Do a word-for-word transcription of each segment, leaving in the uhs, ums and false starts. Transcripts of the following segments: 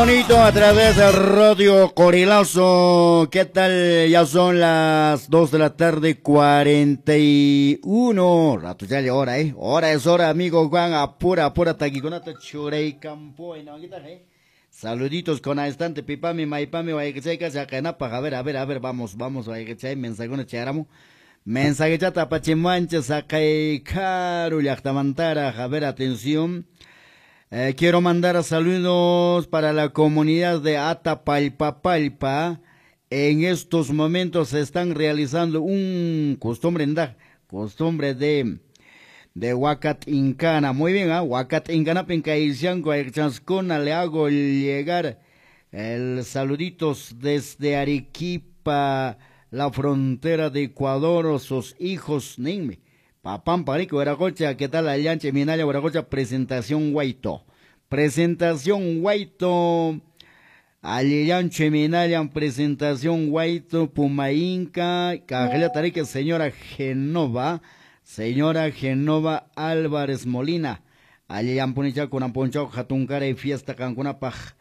Bonito a través de Radio Qorilazo. ¿Qué tal? Ya son las dos de la tarde, cuarenta y uno. Rato ya le hora, ¿eh? Hora es hora, amigo Juan. Apura, apura, taquiconata, churey campo. ¿Eh? Saluditos con instante, pipami, maipami, guayquechayca, sacanapa. A ver, a ver, a ver, vamos, vamos, guayquechay, mensajuna, charamo. Mensaje chata, pachimancha, sacay, caro, llaqtamantara. A ver, atención. Eh, quiero mandar saludos para la comunidad de Atapalpapalpa. En estos momentos se están realizando un costumbre, costumbre de de Huacat Incana. Muy bien, ¿eh? Huacat Incana, Pincaisianco, Chanscona, le hago llegar el saluditos desde Arequipa, la frontera de Ecuador, sus hijos, ninme. Papam Parico, Huiracocha, ¿qué tal? Allanche, Minaya, Huiracocha, presentación Guaito. Presentación Guaito. Allanche, Minaya, presentación Guaito, Pumainca, Cajela Tarique, señora Genova, señora Genova Álvarez Molina. Allan Punicha, Conamponchao, Jatuncara y fiesta Cancunapaj.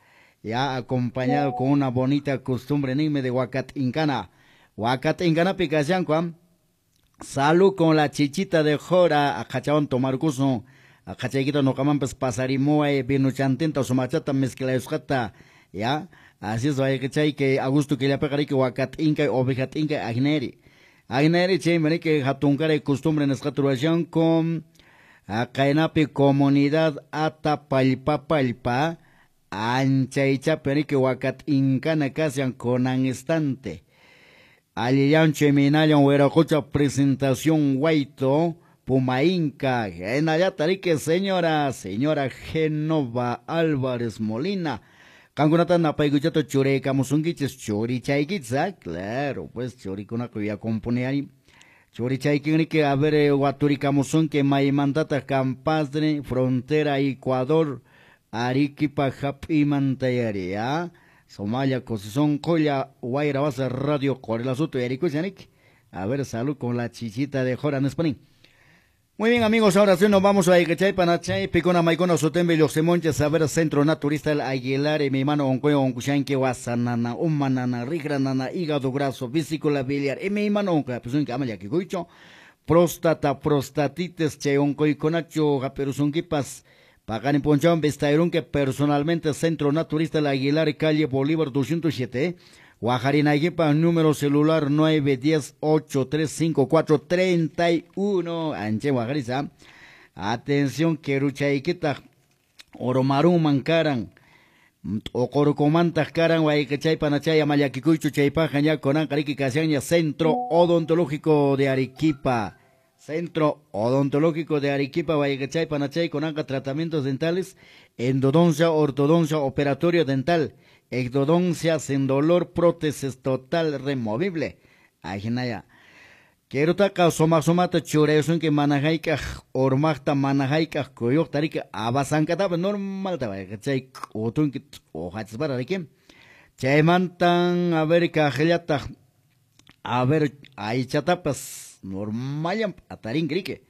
Ya acompañado con una bonita costumbre, nime de Huacat Incana. Huacat Incana, Picasianco, salud con la chichita de jora, a tomarcuso, a cachaquito no camampas pasarimoe, vino chantenta, sumachata, mezcla escata, ya, así es, vaya que chay, que Augusto que le pegaré que huacat inca, ovejat inca, agneri. Agneri, che, que jatuncare costumbre en escaturación con acaenapi comunidad Atapalpapalpa, anchaicha, que huacat incana casian con instante. Alillanche Minaya, Huiracocha, presentación Guaito, Pumainca, en Tarique, señora, señora Genova Álvarez Molina. Cangunata napayguchato churecamusunquiches, churichayquitza, claro, pues churicunaco ya componeari. Churichayquinrique, a ver, guaturicamusunque, maimantata, campastre, frontera Ecuador, Arequipa, Japimantayari, ¿ah? Somalia, Cosizón, Colla, Guaira, Basa, Radio, Qorilazo, Ericuchanik. A ver, salud con la chichita de Jora, Nespanín. Muy bien, amigos, ahora sí nos vamos a Icachay, Panachay, Picona, Maicona, Sotembe, Yoxemonches, a ver, Centro Naturista, el Aguilar, y mi mano, Oncoyo, Oncushanque, Guasanana, Umanana, Rigranana, hígado graso, vesícula biliar, y mi mano, Oncoya, pues un camaya, próstata, prostatitis, che, Oncoiconacho, Japeruzunquipas, Pagani Ponchón, Vestairún, que personalmente Centro Naturista El Aguilar, calle Bolívar doscientos siete, Guajarinaguipa, número celular nueve diez ocho tres cinco cuatro treinta y uno, Anche Guajarisa. Atención, Queruchaiquita, Oromarú Mancaran, Ocorocomanta Caran, Guaycachay, Panachay, Amayaquicucho, Chaypaja, Ñaconán, Cariqui, Casiaña, Centro Odontológico de Arequipa. Centro Odontológico de Arequipa, Guayachay, Panachay, Conanca, tratamientos dentales, endodoncia, ortodoncia, operatorio dental, ectodoncia sin dolor, prótesis total removible. Ajinaya. Quiero taca soma somata churesun que manajaika, ormachta manajaika, koyok tarika, abasankata, normal tabayachay, otunki, ojachbara de Chaymantan, a ver, cajellata, a ver, ahí chatapas. Normal atarín grique.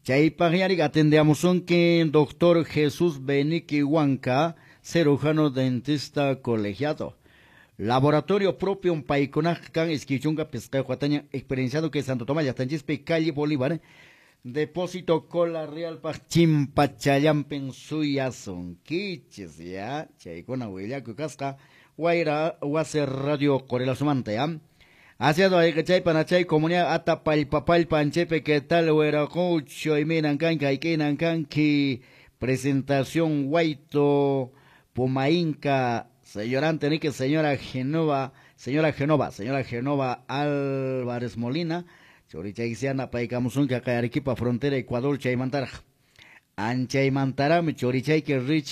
Chaypajiarik atendemos un que doctor Jesús Benique Huanca, cirujano dentista colegiado. Laboratorio propio un paiconaj can esquichunga pesca huataña experienciado que Santo Tomás Yastanchispe, calle Bolívar, depósito Cola Real pa Chimpachayampen suya son quiches ya, chaykuna huillaku casca, Guaira Wase Radio Qorilasomanta ya. Hacia Chay, Panachay, comunidad Atapalpapalpa, Anchepe, ¿qué tal? Huiracocho, y Minancanca, Iquinancanqui, presentación Guaito, Pumainca, señora Antenique, señora Genova, señora Genova, señora Genova Álvarez Molina, Chorichayxiana, Paicamusunca, Arequipa, frontera, Ecuador, Chaymantaraj, Anchaymantarami, Chorichayque, Rich.